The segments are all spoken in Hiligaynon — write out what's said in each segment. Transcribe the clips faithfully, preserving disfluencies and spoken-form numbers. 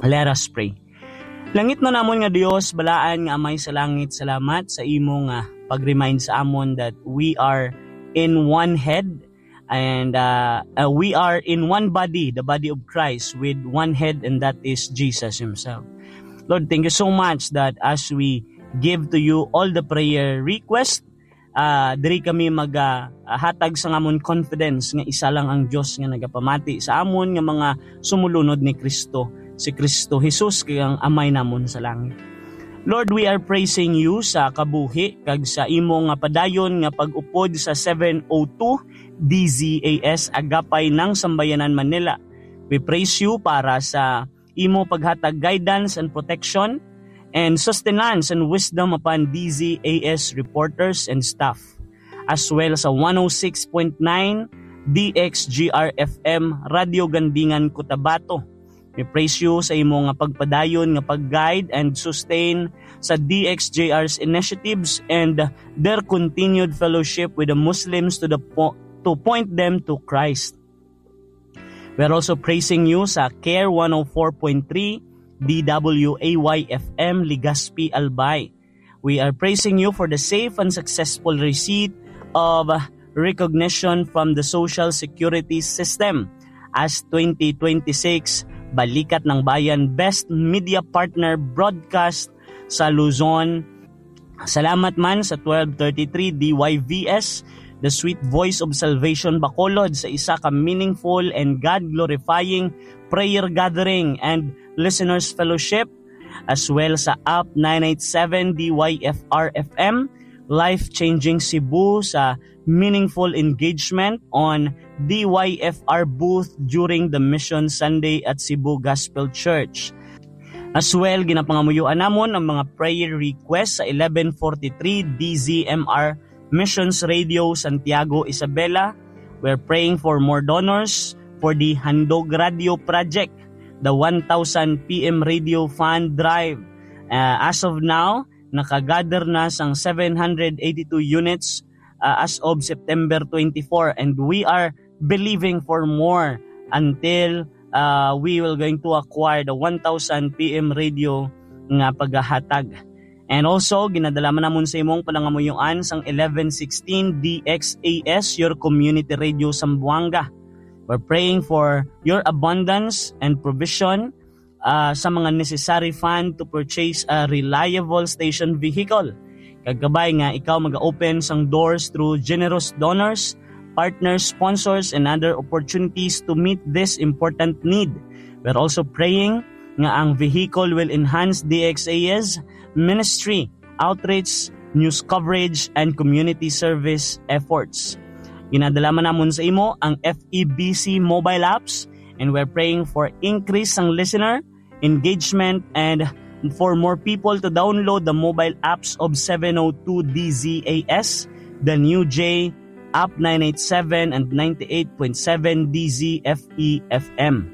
Let us pray. Langitnon namon nga Dios, balaan nga Amay sa langit, salamat sa imo nga pag-remind sa amon that we are in one head and uh, uh, we are in one body, the body of Christ, with one head, and that is Jesus himself. Lord, thank you so much that as we give to you all the prayer request, uh, diri kami magahatag sa amon confidence nga isa lang ang Dios nga nagapamati sa amon nga mga sumulunod ni Kristo, si Kristo Jesus kay ang Amay namon sa langit. Lord, we are praising you sa kabuhi kag sa imo nga padayon nga pag-upod sa seven oh two D Z A S Agapay ng Sambayanan Manila. We praise you para sa imo paghatag guidance and protection and sustenance and wisdom upon D Z A S reporters and staff, as well sa one oh six point nine D X G R F M Radio Gandingan, Cotabato. We praise you sa imo nga pagpadayon nga pag-guide and sustain sa D X G R's initiatives and their continued fellowship with the Muslims to the po- to point them to Christ. We are also praising you sa Care one oh four point three D W A Y F M Legazpi, Albay. We are praising you for the safe and successful receipt of recognition from the Social Security System as twenty twenty-six Balikat ng Bayan Best Media Partner Broadcast sa Luzon. Salamat man sa twelve thirty-three D Y V S, The Sweet Voice of Salvation Bacolod, sa isa ka meaningful and God-glorifying prayer gathering and listeners fellowship, as well sa App nine eight seven D Y F R F M, Life Changing Cebu, sa meaningful engagement on D Y F R booth during the Mission Sunday at Cebu Gospel Church. As well, ginapangamuyoan namon ang mga prayer request sa eleven forty-three D Z M R Missions Radio Santiago, Isabela. We're praying for more donors for the Handog Radio Project, the one thousand P M Radio Fund Drive. Uh, as of now, nakagather na sang seven hundred eighty-two units uh, as of September twenty-four, and we are believing for more until uh, we will going to acquire the one thousand P M radio nga paghahatag. And also, ginadala man namon sa imong panangamuyoan sang eleven sixteen D X A S, your community radio Zamboanga. We're praying for your abundance and provision uh, sa mga necessary fund to purchase a reliable station vehicle. Kag kabay nga ikaw mag-open sang doors through generous donors, partners, sponsors, and other opportunities to meet this important need. We're also praying nga ang vehicle will enhance D X A's ministry, outreach, news coverage, and community service efforts. Ginadala man namon sa imo ang F E B C mobile apps, and we're praying for increase sang listener engagement and for more people to download the mobile apps of seven oh two D Z A S, the New J, App nine eight seven and ninety-eight point seven D Z F E F M.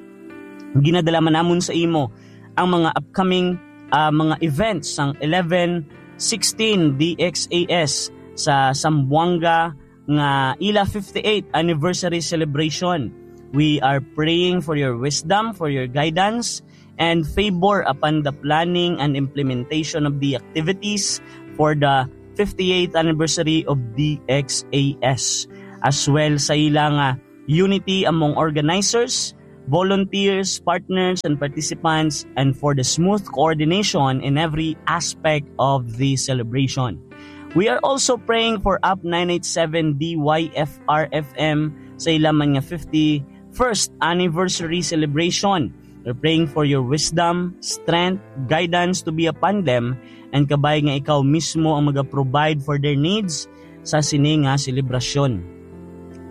Ginadala man namon sa imo ang mga upcoming ah, mga events sang eleven sixteen D X A S sa Zamboanga nga ila fifty-eighth anniversary celebration. We are praying for your wisdom, for your guidance, and favor upon the planning and implementation of the activities for the fifty-eighth anniversary of D X A S, as well sa ila nga unity among organizers, volunteers, partners, and participants, and for the smooth coordination in every aspect of the celebration. We are also praying for Up nine eight seven D Y F R F M sa ila man nga fifty-first anniversary celebration. We're praying for your wisdom, strength, guidance to be upon them, and kabay nga ikaw mismo ang maga-provide for their needs sa sini nga selebrasyon.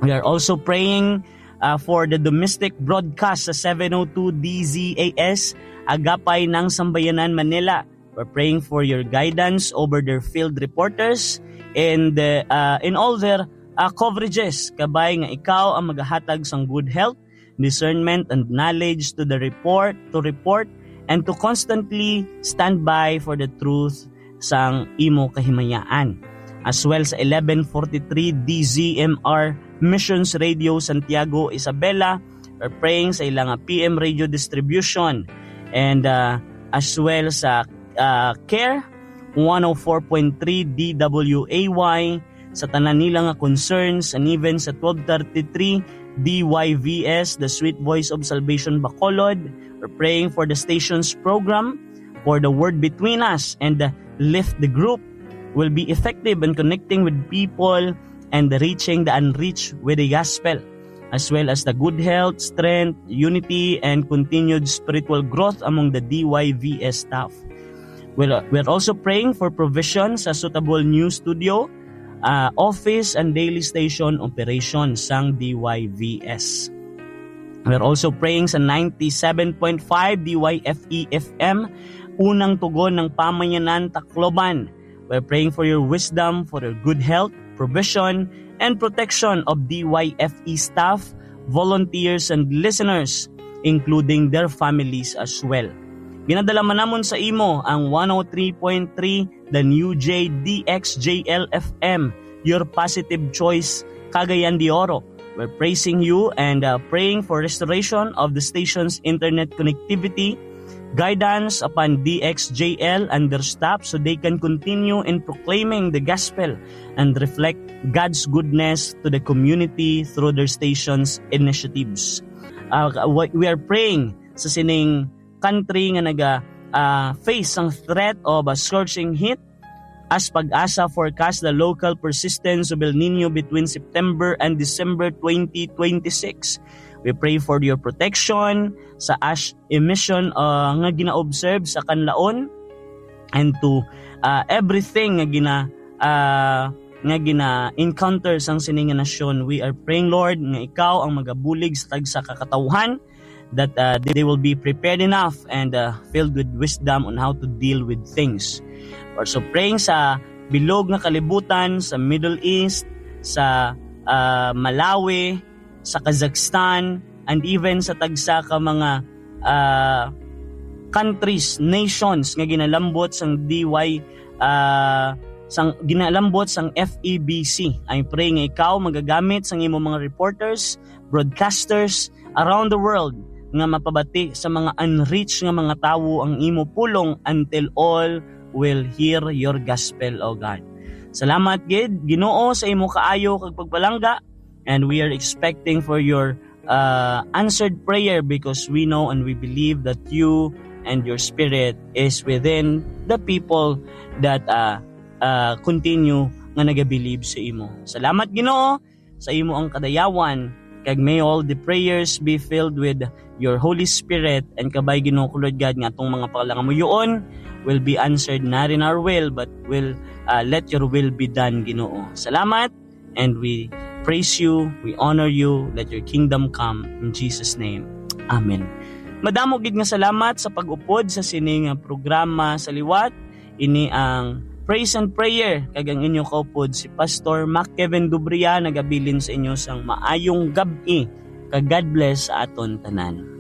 We are also praying uh, for the domestic broadcast sa seven oh two D Z A S, Agapay ng Sambayanan, Manila. We're praying for your guidance over their field reporters and uh, uh, in all their uh, coverages. Kabay nga ikaw ang magahatag sang good health, discernment, and knowledge to the report, to report, and to constantly stand by for the truth sang imo kahimayaan. As well sa eleven forty-three D Z M R Missions Radio Santiago, Isabela, we're praying sa ila nga P M radio distribution. and, uh, as well sa, uh, Care one oh four point three D W A Y, sa tanan nila nga concerns, and even sa twelve thirty-three D Y V S, The Sweet Voice of Salvation Bacolod. We're praying for the station's program, for the Word Between Us, and the Lift the Group will be effective in connecting with people and reaching the unreached with the gospel, as well as the good health, strength, unity, and continued spiritual growth among the D Y V S staff. We're, we're also praying for provision sa suitable new studio, uh, office, and daily station operation sang D Y V S. We're also praying sa ninety-seven point five D Y F E F M, unang tugon ng pamayanan, Tacloban. We're praying for your wisdom, for your good health, provision, and protection of D Y F E staff, volunteers, and listeners, including their families as well. Ginadala man namon sa imo ang one oh three point three The New J D X J L F M, your positive choice, Cagayan de Oro. We're praising you and, uh, praying for restoration of the station's internet connectivity, guidance upon D X J L and their staff so they can continue in proclaiming the gospel and reflect God's goodness to the community through their station's initiatives. Uh, we we are praying sa sining country nga naga, ah, face ang threat of a scorching heat, as PAGASA forecast the local persistence of El Niño between September and December twenty twenty-six. We pray for your protection sa ash emission, ah, nga gina-observe sa Canlaon, and to, ah, everything nga gina-, ah, nga gina-encounter sang sini nga nasyon. We are praying, Lord, nga ikaw ang magabulig sa tagsa ka katawhan, that, uh, they will be prepared enough and, uh, filled with wisdom on how to deal with things. Also praying sa bilog nga kalibutan, sa Middle East, sa, uh, Malawi, sa Kazakhstan, and even sa tagsa ka mga, uh, countries, nations nga ginalambot sang D Y, uh, sang ginalambot sang F E B C. I pray nga ikaw magagamit sang imo mga reporters, broadcasters around the world nga mapabati sa mga unreached nga mga tawo ang imo pulong until all will hear your gospel, O God. Salamat gid, Ginoo, sa imo kaayo kag pagpalangga, and we are expecting for your, uh, answered prayer because we know and we believe that you and your spirit is within the people that, uh, uh, continue nga nagabilib sa imo. Salamat, Ginoo, sa imo ang kadayawan, kag may all the prayers be filled with your Holy Spirit, and kabay, Ginoo ko, Lord God, nga atong mga pangalangamuyoon will be answered not in our will, but will, uh, let your will be done, Ginoo. Salamat, and we praise you, we honor you. Let your kingdom come, in Jesus' name. Amen. Madamo gid nga salamat sa pag-upod sa sini nga programa sa liwat. Ini ang Praise and Prayer, kag ang inyo kaupod si Pastor Mac Kevin Dubria nagabilin sa inyo sang maayong gab-i, kag God bless sa aton tanan.